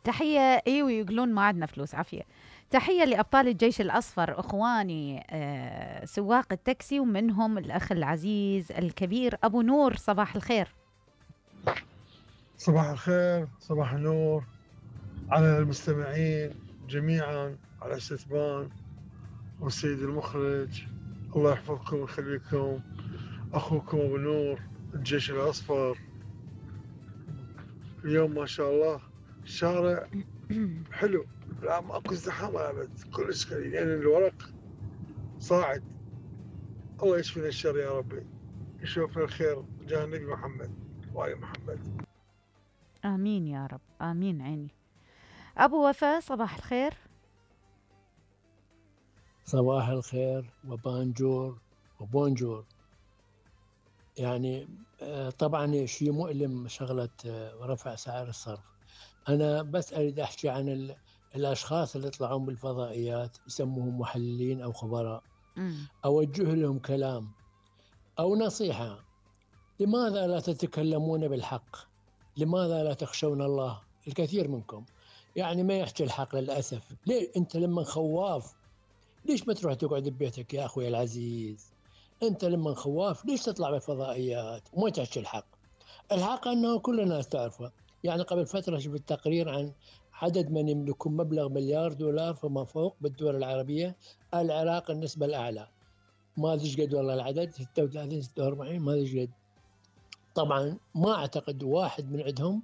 تحية. ايوه يقولون ما عندنا فلوس عافية. تحية لأبطال الجيش الأصفر إخواني، سواق التاكسي، ومنهم الأخ العزيز الكبير أبو نور. صباح الخير. صباح الخير، صباح النور على المستمعين جميعا، على ستبان والسيد المخرج. الله يحفظكم ويخليكم. أخوكم أبو نور، الجيش الأصفر. اليوم ما شاء الله الشارع حلو، لا ماكو ازدحام أبد، كلش قليل، لأن الورق صاعد. الله يشفينا الشر يا ربي، يشوفنا الخير جاه النبي محمد وآل محمد. آمين يا رب، آمين. عيني. أبو وفاء صباح الخير. صباح الخير وبانجور وبونجور. يعني طبعا شيء مؤلم شغلة رفع سعر الصرف. أنا بس أريد أحكي عن الأشخاص اللي يطلعون بالفضائيات يسموهم محللين أو خبراء. أوجه لهم كلام أو نصيحة: لماذا لا تتكلمون بالحق؟ لماذا لا تخشون الله؟ الكثير منكم يعني ما يحكي الحق للأسف. ليه أنت لما خواف ليش ما تروح تقعد ببيتك يا أخوي العزيز؟ أنت لما خواف ليش تطلع بالفضائيات وما تحكي الحق؟ الحق أنه كل الناس تعرفه. يعني قبل فترة شفت تقرير عن عدد من يملكون مبلغ $1,000,000,000 فما فوق بالدول العربية. العراق النسبة الأعلى، ما أدري ايش قد والله العدد، 36 46 ما أدري ايش قد. طبعا ما أعتقد واحد من عندهم